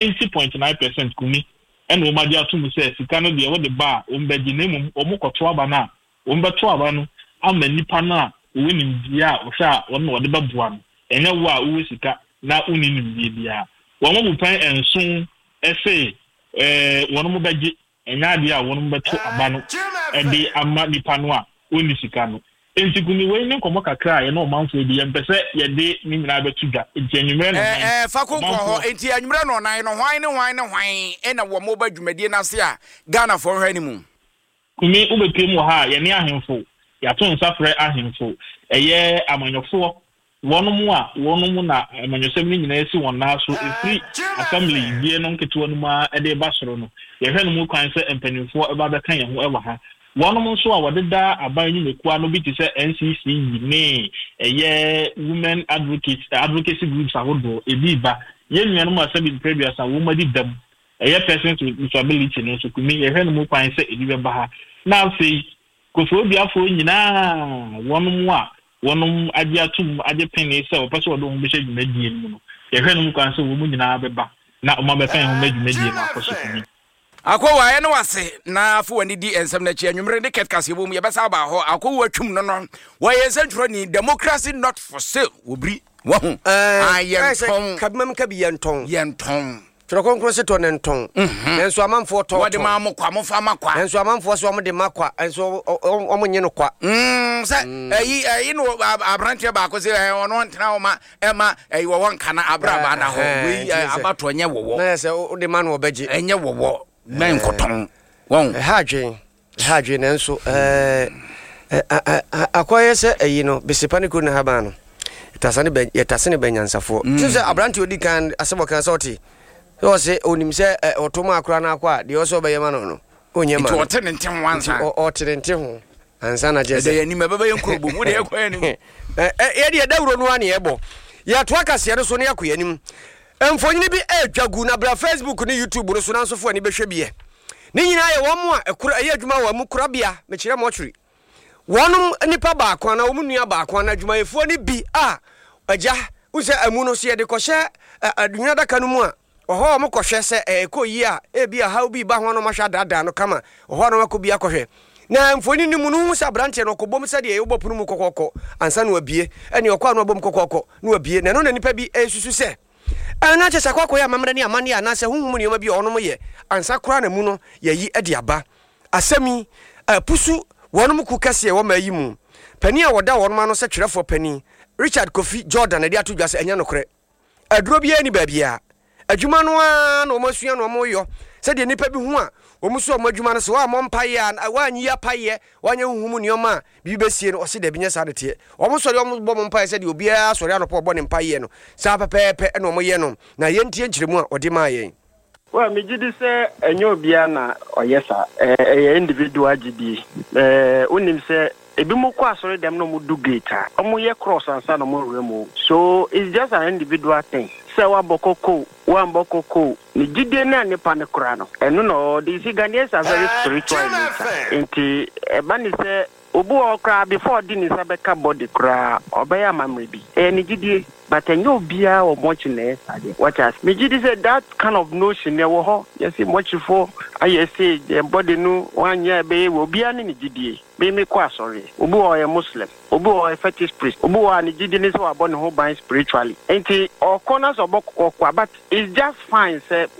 90.9% kumi ɛna wɔn agye ato mu sɛ sika no deɛ wɔde ba a, wɔn bɛgye, na mmom wɔn kɔto aba no a, wɔn bɛto aba no ama nipa no a wɔwɔ nimdeɛ a wɔhwɛ a wɔn na wɔde bɛboa no, ɛnyɛ wo a wowɔ sika na wonni nimdeɛ biara. Wɔn abu pɛn 7 ɛsɛ wɔn mo bɛgye, ɛnyɛ adeɛ a wɔn bɛto aba no ɛde ama nipa no a wɔnni sika no. Nti kumi, wei ne nkɔmɔ kakra a yɛne ɔmanfoɔ bi yɛmpɛ sɛ yɛde ne nyinaa bɛto dwa, nti anwummerɛ no nan Ɛɛ, fa ko nkɔ hɔ. Nti anwummerɛ no ɔnan no, hwan ne hwan ne hwan ɛna wɔn mo ba dwumadie n'ase a Ghanafoɔ hwɛ ne mu? Kumi, wobɛpie mu wɔ ha a, yɛne ahemfo, yɛato nsa frɛ ahemfo, ɛyɛ amanyɔfoɔ, wɔn a wɔn na amanyɔsɛm no nyinaa si wɔn nan so, ɛfiri assembly die no nketewa no mu a ɛde ba soro no. Yɛhwɛ no mu kwan sɛ mpanimfoɔ ɛba bɛka yɛn ho ɛwɔ ha. Wɔn nso a wɔdeda aban nnwumakuo ano bi te sɛ NCC ne ɛyɛ women advocate advocacy groups ahodoɔ ebi ba. Yɛn nuanom a sɛbi mpere 30 wɔn adi dɛm, ɛyɛ persons with disability no nso, kumi, yɛhwɛ no mu kwan sɛ ebi bɛba ha. Na afei Kofoɔduafoɔ nyinaa, wɔn a wɔn agye atum agye pene sɛ wɔpɛ sɛ wɔde wɔn bɛhyɛ dwumadie no mu no, yɛhwɛ no mu kwan sɛ wɔn nyinaa bɛba na wɔn abɛka yɛn ho ma dwumadie no akɔ so, kumi. Akɔwu ayɛ ne wase na afo w'ani di nsɛm no akyi. Anwummere ne kɛt kaseɛ bɔ mu, yɛbɛsa aba hɔ. Akɔwu atwum no, wɔyɛ nsɛntwerɛni. Democracy not for sale wɔ biri wahu. Yɛntɔn. Kabimam kabi yɛntɔn. Yɛntɔn. Twerɛ Kronkron se tɔ ne ntɔn, nanso amanfoɔ tɔ. Wɔde ma mo kwa, mofa ma kwa. Nanso amanfoɔ sɛ ɔmo de ma kwa, nso ɔmo nye no kwa. Sɛ ɛyi no, aberanteɛ baako sɛ ɔno ntena hɔ ma ɛma ɛyi wɔwɔ nkana abraba na hɔ wei abatoɔ nyɛ wɔwɔ. Na yɛ sɛ wode ma no, ɔbɛgye. Ɛnyɛ wɔwɔ mɛ nkɔtɔn wɔn. Ɛha adwen, ɛha adwen, nanso akɔyɛ sɛ ɛyi no besepa ne kuro ne haban no yɛtasa ne bɛ, yɛtase ne bɛ nyansafoɔ sɛ aberanteɛ odi kan asɛm ɔka sɛ ɔte sɛ ɔse onim sɛ ɔto mu akora no akɔ a, deɛ ɔsɛ ɔbɛyɛ ma no, ɔnyɛ ma nti no. Ɔte ne nte ho ansa. Nti ɔte ne nte ho ansa na kyerɛ ɛdɛ sɛ yɛ anim ɛbɛbɛ yɛ nkuro bom wode yɛkɔ yɛ anim. Yɛde yɛdawuro no a ne yɛbɔ yɛtoa kaseɛ no so ne yɛkɔ yɛanim. Mfonyini bi ɛretwa gu na bra Facebook ne YouTube no so na nsofo ani bɛhwɛ biɛ. Ne nyinaa yɛ wɔn a ɛkora ɛyɛ adwuma wɔ amu korabea, mekyerɛ mortuary, wɔnom nipa baako anaa wɔn nua baako anaa adwumayɛfoɔ no bi a agya wo sɛ amu no so yɛde kɔhyɛ adwuma adaka no mu a, ɔhɔ a wɔn kɔhwɛ sɛ ɛkɔ yie a, ebi ahaw bi ba ho a, na wɔn ahwɛ adaadaa no kama. Ɔhɔ a na wɔn akɔ bi akɔhwɛ na mfoni no mu no hu sɛ aberanteɛ no ɔkɔbom sɛdeɛ yɛwobɔ pono mu kɔkɔɔkɔ ansa na wabie, ɛne ɔkɔ a na wabom kɔkɔɔkɔ na wabie. Na ɛno na nipa bi ɛsusu sɛ ɛna kyɛ sɛ akɔ akɔyɛ amammerɛ ne amanneɛ anaasɛ honhom nneɛma bi a ɔnom yɛ ansa koraa na mu no yɛyi de aba. Asɛm yi apusu wɔnom ku kɛseɛ wɔ maa yi mu. Panin a wɔda wɔnom ano sɛ twerɛfoɔ panin Richard Kofi Jordan de ato dwa sɛ ɛnyɛ nokorɛ, aduro biara ni baabiara. Adwuma no ara na wɔn asua na wɔn yɔ sɛdeɛ nnipa bi ho a wɔn so wɔn adwuma no sɛ wɔammɔ mpaeɛ a, wɔanyi apaeɛ, wɔanyɛ huhum nneɛma a biribi bɛsie no. Ɔse dabi, nyɛ saa de teɛ. Wɔn sɔre, wɔn bɔ wɔn mpaeɛ sɛdeɛ obiara sɔre anɔpa ɔbɔ ne mpaeɛ no, saa pɛpɛɛpɛ ɛna wɔn yɛ no. Na yɛntie nkyerɛmu a ɔde maa yɛn. Well, megye di sɛ ɛnyɛ obiara na ɔyɛ saa. Ɛyɛ individual gyidie. Wonim sɛ ebi mo kɔ asɔre dɛm na ɔmo du gate a, ɔmo yɛ cross ansa na ɔmo awura mu. So it's just an individual thing. Sɛ wabɔ koko, wambɔ koko, ne gyidie no a nipa no kora no, ɛno na ɔde. You see, Ghanaians are very spiritual in nature. Nti ɛba ne sɛ obi wɔ hɔ koraa, before ɔde ne nsa bɛka body koraa, ɔbɛyɛ amammerɛ bi. Ɛyɛ ne gyidie. But ɛnyɛ obiara wɔ mortuary na ɛyɛ saa deɛ. Wɔte ase? Megye di sɛ that kind of notion ɛwɔ hɔ. Yɛsi mortuaryfoɔ ayɛ se yɛn body no wɔanyɛ a ɛbɛyɛ wɔ obiara ne ne gyidie. Me kɔ asɔre. Obi wɔ hɔ ɔyɛ Muslim. Obi wɔ hɔ ɔyɛ fetish priest. Obi wɔ hɔ a ne gyidie ne sɛ wabɔ ne ho ban spiritually. Nti ɔkɔ na sɛ ɔbɔ kɔkɔɔ but it's just fine sɛ.